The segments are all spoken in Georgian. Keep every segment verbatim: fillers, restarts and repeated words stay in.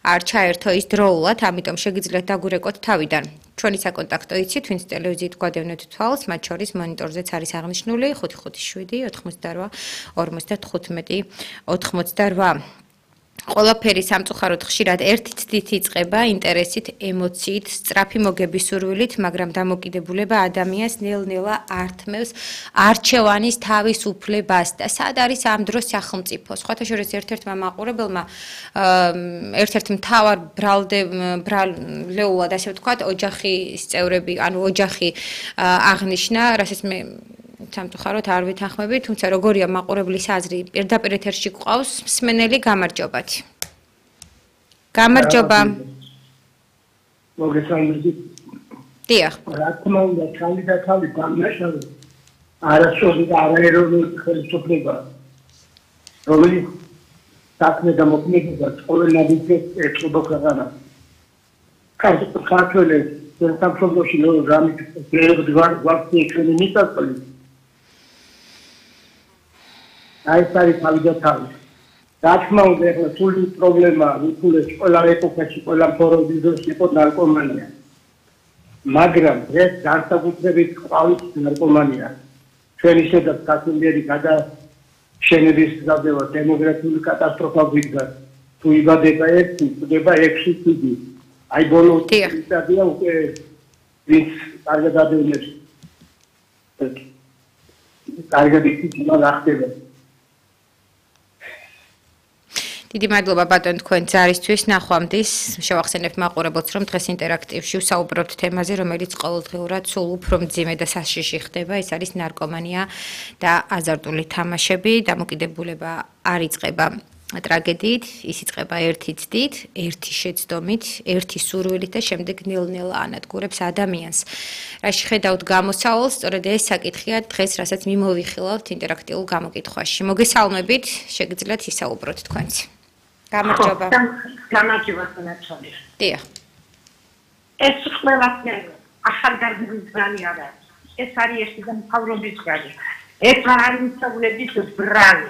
არ ჩაერთო ის დროულად, ამიტომ შეგიძლიათ დაგვირეკოთ თავიდან. ჩვენი საკონტაქტო იცით, ვინც ტელევიზიით გვადევნეთ თვალს, მათ შორის მონიტორზეც არის აღნიშნული ხუთი ხუთი შვიდი ოთხმოცდაოთხ ორმოცდათხუთმეტი ოთხმოცდაოთხ. ყველაფერი სამწუხაროდ ხშირად ერთი ცდით იწყება, ინტერესით, ემოციით, სწრაფი მოგების სურვილით, მაგრამ დამოკიდებულება ადამიანს ნელ-ნელა ართმევს არჩევანის თავისუფლებას და სად არის ამ დროს სახელმწიფო. სხვათა შორის ერთ-ერთმა მაყურებელმა ერთ-ერთ მთავარ ბრალდეულად, ასე ვთქვათ, ოჯახის წევრები, ანუ ოჯახი აღნიშნა, რასაც მე სამწუხაროდ არ ვითანხმები, თუმცა როგორია მაყურებლის აზრი, პირდაპირ ეთერში გვყავს მსმენელი, გამარჯობათ. გამარჯობა. მოგესალმებით. დიახ. რა თქმა უნდა, თავი და თავი დამნაშავე არასოდეს და არაეროვნული ხელისუფლება, რომელიც საქმე და მოქმედებას ყოველნაირად ეწყობა ქვეყანას. ქართველებს სამშობლოში რამით გვაქვს ჩვენი მიწაწველი. აი ეს არის თავი და თავი. რა თქმა უნდა, ახლა სული პრობლემა უთულეს ყველა ეპოქაში, ყველა ფორუმის დროს იყო ნარკომანია. მაგრამ ეს განსაკუთრებით ყავის ნარკომანია. ჩვენი შედეგად კაცოლიერი გადაშენების გზადევა დემოგრაფიული კატასტროფა გვიდგა. თუ იბადება ერთი, იბადება ექვსი თვით. აი ბოლო სტადია უკვე ვინც კარგად ადევნებს. კარგად იქნება გახდება. დიდი მადლობა ბატონ თქვენ ძალისთვის. ნახვამდის შევახსენებ მაყურებელს, რომ დღეს ინტერაქტივში ვსაუბრობთ თემაზე, რომელიც ყოველდღიურად სულ უფრო მძიმე და საშიში ხდება. ეს არის ნარკომანია და აზარტული თამაშები. დამოკიდებულება არ იწყება ტრაგედიით, ის იწყება ერთი ცდით, ერთი შეცდომით, ერთი სურვილით და შემდეგ ნელ-ნელა ანადგურებს ადამიანს. რა შეხედავთ გამოსავალს, სწორედ ეს საკითხია დღეს, რასაც მიმოვიხილავთ ინტერაქტიულ გამოკითხვაში. მოგესალმებით, შეგიძლიათ ისაუბროთ თქვენც. გამარჯობა. გამარჯობა თქვენს. დიახ. ეს ყველაფერი ახალგაზრდის ძალი არა. ეს არის ერთი და მთავრობის ძალი. ეს არ არის მისავლების ბრალი.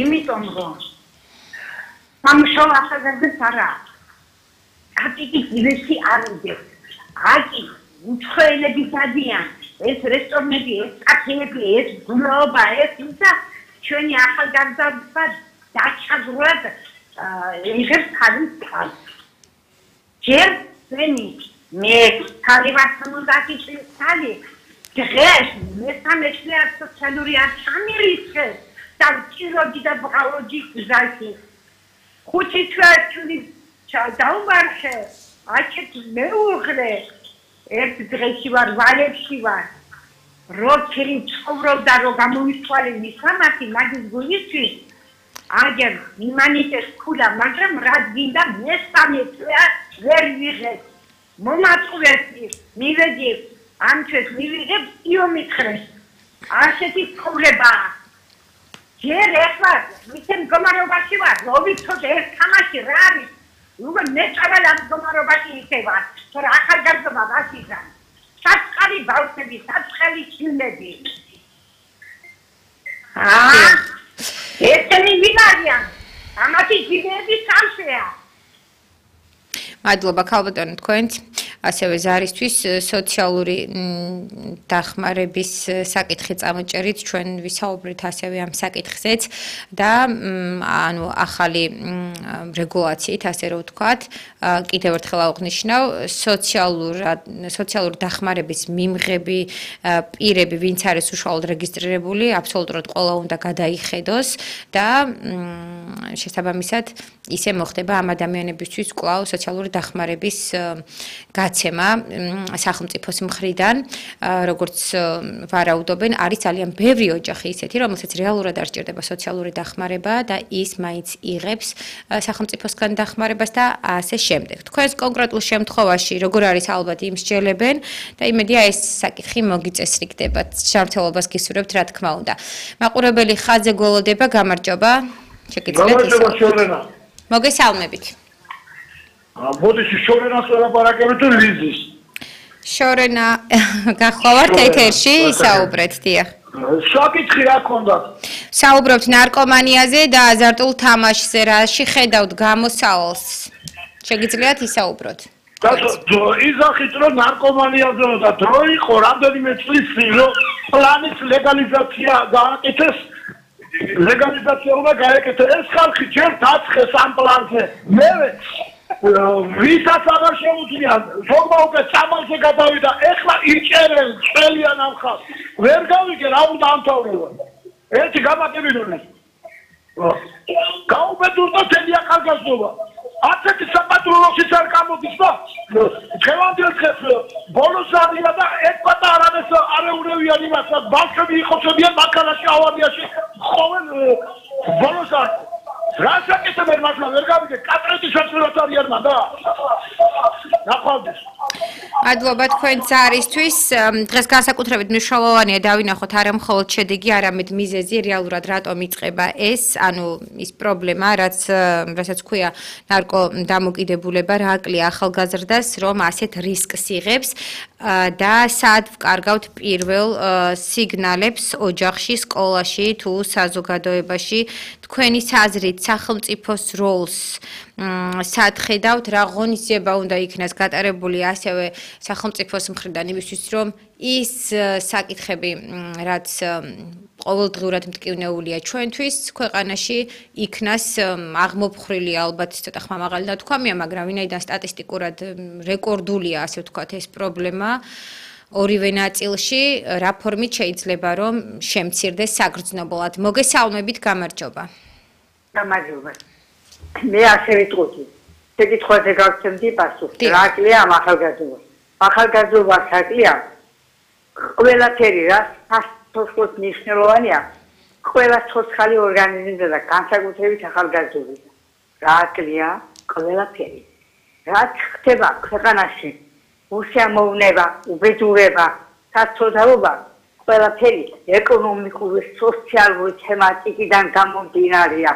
იმიტომ რომ სამშობლო ახალგაზრდებს არა. აკიკი ძილესი არ უდევს. აკი უცხოელები დადიან. ეს რესტორნები, ეს კაფეები, ეს გულობა, ეს ისა ჩვენი ახალგაზრდა დაჩაგრად იღებს თავის თავს. ჯერ ვენი მე თავისთავად წელი დღეს მესამე წელს სოციალური არჩევნები და ჭიროდი და ბღალოჯი გზაში. ხუთი თვე დაუმარხე, აჩეთ მეუღლე, ერთ დღეში ვარ, ვალებში ვარ. როქერი ცხოვრობდა, რომ გამოისვალე მისამართი, მაგის გულისთვის აგერ იმანიტეს ქულა, მაგრამ რა გინდა მესამე წელი ვერ ვიღებ. მომაწყვეტი, მივედი, ამ ჩვენს მივიღებ იომიხრეს. ასეთი ცხოვრებაა. ჯერ ახლა მის მდგომარეობაში ვარ, რომ ვიცოდე ეს თამაში რა არის. უკვე მეწავალ ამ მდგომარეობაში იქნება, თორე ახალგაზრდა ვასიზან. საწყარი ბავშვები, საწყალი ჩილები. აა ესენი ვინ არიან? ამათი ძინები სამშეა. მადლობა ქალბატონო თქვენც. ასევე ზარისთვის სოციალური დახმარების საკითხი წამოჭერით ჩვენ ვისაუბრეთ ასევე ამ საკითხზეც და ანუ ახალი რეგულაციით ასე რომ ვთქვათ კიდევ ერთხელ აღვნიშნავ სოციალურად სოციალური დახმარების მიმღები პირები ვინც არის უშუალოდ რეგისტრირებული აბსოლუტურად ყველა უნდა გადაიხედოს და შესაბამისად ისე მოხდება ამ ადამიანებისთვის კვლავ სოციალური დახმარების გაცემა სახელმწიფოს მხრიდან როგორც ვარაუდობენ არის ძალიან ბევრი ოჯახი ისეთი რომელსაც რეალურად არ სჭირდება სოციალური დახმარება და ის მაინც იღებს სახელმწიფოსგან დახმარებას და ასე შემდეგ. თქვენს კონკრეტულ შემთხვევაში როგორ არის ალბათ იმ მსჯელებენ და იმედია ეს საკითხი მოგიწესრიგდება. ჯანმრთელობას გისურვებთ რა თქმა უნდა. მაყურებელი ხაძე გველოდება გამარჯობა. შეგიძლიათ ისაუბროთ. მოგესალმებით. ბოდიში შორენას ელაპარაკებით თუ ლიზის? შორენა გახლავართ ეთერში, ისაუბრეთ, დიახ. საკითხი რა ქონდათ? საუბრობთ ნარკომანიაზე და აზარტულ თამაშზე, რაში ხედავთ გამოსავალს? შეგიძლიათ ისაუბროთ? და იზახით რომ ნარკომანიაზე და დრო იყო რამდენიმე წლის წინ რომ პლანის ლეგალიზაცია გააკეთეს ლეგალიზაცია უნდა გააკეთეს ეს ხალხი ჯერ დაცხეს ამ პლანზე მე ვისაც აღარ შეუძლია ზოგმა უკვე სამალზე გადავიდა ეხლა იჭერენ წელიან ამ ხალხს ვერ გავიგე რა უნდა ამთავრებო ერთი გამაკებინონეს გაუბედურდა თელი ახალგაზრდობა ასეთი საპატრულოშიც არ გამოდის და დღევანდელ დღეს ბოლოს არია და ეთქვა არანეს არეურევიან იმასაც ბავშვები იხოცებიან მანქანაში ავარიაში ხოვენ ბოლოს არ რასაკეთებენ მართლა ვერ გავიგე კატრეთის შეცვლილად არიან და ნახვავდეს მადლობა თქვენ ძარისთვის დღეს განსაკუთრებით მნიშვნელოვანია დავინახოთ არა მხოლოდ შედეგი არამედ მიზეზი რეალურად რატომ იწყება ეს ანუ ის პრობლემა რაც რასაც ქვია ნარკო დამოკიდებულება რა აკლია ახალგაზრდას რომ ასეთ რისკს იღებს და სად ვკარგავთ პირველ სიგნალებს ოჯახში სკოლაში თუ საზოგადოებაში თქვენი აზრით სახელმწიფოს როლს სად ხედავთ რა ღონისძიება უნდა იქნას გატარებული ასევე სახელმწიფოს მხრიდან იმისთვის რომ ის საკითხები რაც ყოველდღიურად მტკივნეულია ჩვენთვის ქვეყანაში იქნას აღმოფხრილი ალბათ ცოტა ხმამაღალი ნათქვამია მაგრამ ვინაიდან სტატისტიკურად რეკორდულია ასე ვთქვათ ეს პრობლემა ორივე ნაწილში რა ფორმით შეიძლება რომ შემცირდეს საგრძნობლად მოგესალმებით გამარჯობა გამარჯობა მე ასე ვიტყოდი შეკითხვაზე გავცემდი პასუხი რა აკლია ამ ახალგაზრდობას ახალგაზრდობას აკლია ყველაფერი რა სასწორად მნიშვნელოვანია ყველა ცოცხალი ორგანიზმზე და განსაკუთრებით ახალგაზრდობაზე რა აკლია ყველაფერი რაც ხდება ქვეყანაში უსიამოვნება უბედურება საცოდაობა ყველაფერი ეკონომიკური სოციალური თემატიკიდან გამომდინარეა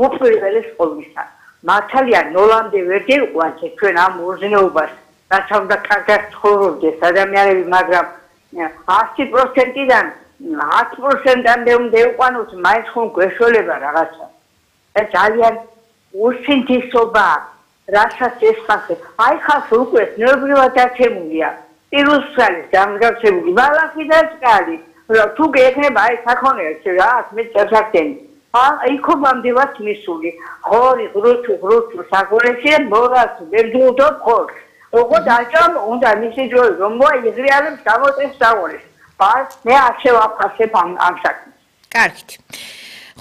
უპირველეს ყოვლისა მართალია ნოლამდე ვერ დიყვანთ ჩვენ ამ უზნეობას რაც უნდა კარგად ცხოვრობდეს ადამიანები მაგრამ ათი პროცენტიდან ათი პროცენტამდე უნდა იყვანოთ მაინც ხომ გვეშველება რაღაცა ეს ძალიან უსინთისობა რასაც ეს ხალხი აი ხალხი უკვე ნერვიულად დაცემულია პირუსალის დამდგაცებული ბალახიდან წყალი თუ გექნება აი საქონელს რა მე წესახდენი იქობამდევაც მისული ხორი ღრუჩუ ღრუჩუ საქონელში მორას ვერდუდო ხორს ოღო დაჭამ უნდა მისი ჯოი რომ მოიგრიალებს გამოწეს საქონელს ბას მე არ შევაფასებ ამ ამ საქმეს კარგით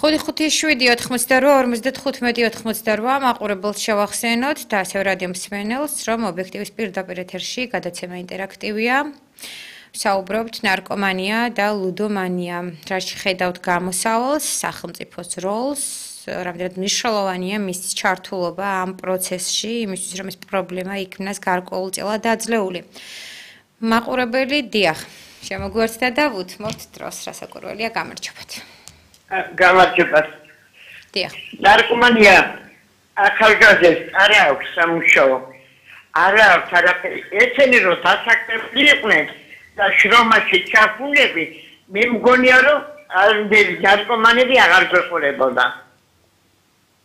ხუთი ხუთი შვიდი ოთხმოცდარვა ორმოცდათხუთმეტი ოთხმოცდარვა მაყურებელს შევახსენოთ და ასევე რადიო მსმენელს რომ ობიექტივის პირდაპირ ეთერში გადაცემა ინტერაქტივია საუბრობთ ნარკომანია და ლუდომანია რაში ხედავთ გამოსავალს სახელმწიფოს როლს რამდენად მნიშვნელოვანია მის ჩართულობა ამ პროცესში იმისთვის რომ ეს პრობლემა იქნას გარკვეულწილად დაძლეული მაყურებელი დიახ შემოგვერთდა და ვუთმობთ დროს რასაკვირველია გამარჯობათ გამარჯობა. დიახ. ნარკომანია ახალგაზრდებს არ აქვს სამუშაო. არ აქვს არაფერი. ესენი რომ დასაქმებული იყვნენ და შრომაში ჩაფულები, მე მგონია რომ ამდენი ნარკომანები აღარ გვეყოლებოდა.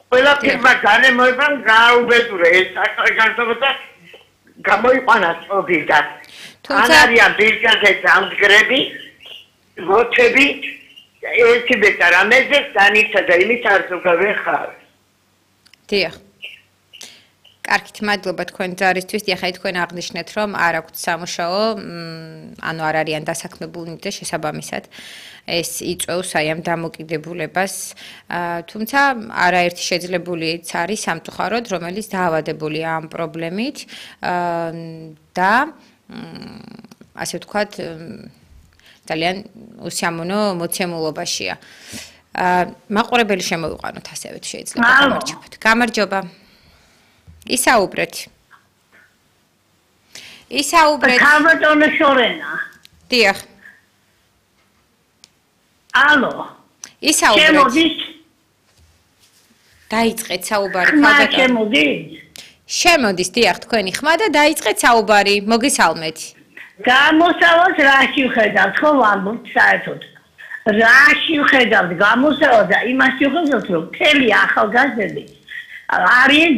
ყველაფერმა განემოებამ გააუბედურა ეს ახალგაზრდობა გამოიყვანა წობიდან. ან არიან ბირკაზე დამდგრები, მოთები ერთი ბეტარამეზე განიცა და იმით არ ზოგავეხარ. დიახ. კარგით, მადლობა თქვენ ძარისთვის. დიახ, თქვენ აღნიშნეთ, რომ არ აქვთ სამუშაო, ანუ არ არიან დასაქმებულნი და შესაბამისად ეს იწვევს აი ამ დამოკიდებულებას. თუმცა არაერთი შეძლებულიც არის სამწუხაროდ, რომელიც დაავადებულია ამ პრობლემით და ასე ვთქვათ ძალიან უსიამოვნო მოცემულობაშია. მაყურებელი შემოვიყვანოთ ასევე შეიძლება გამარჯობათ. გამარჯობა. ისაუბრეთ. ისაუბრეთ. ქალბატონო შორენა. დიახ. ალო. ისაუბრეთ. შემოდით? დაიწყეთ საუბარი ქალბატონო. შემოდით? შემოდის დიახ თქვენი ხმა და დაიწყეთ საუბარი. მოგესალმეთ. გამოსავალს რაში ვხედავთ ხო ვამბობთ საერთოდ რაში ვხედავთ გამოსავალს და იმას ვხედავთ რომ მთელი ახალგაზრდები არიან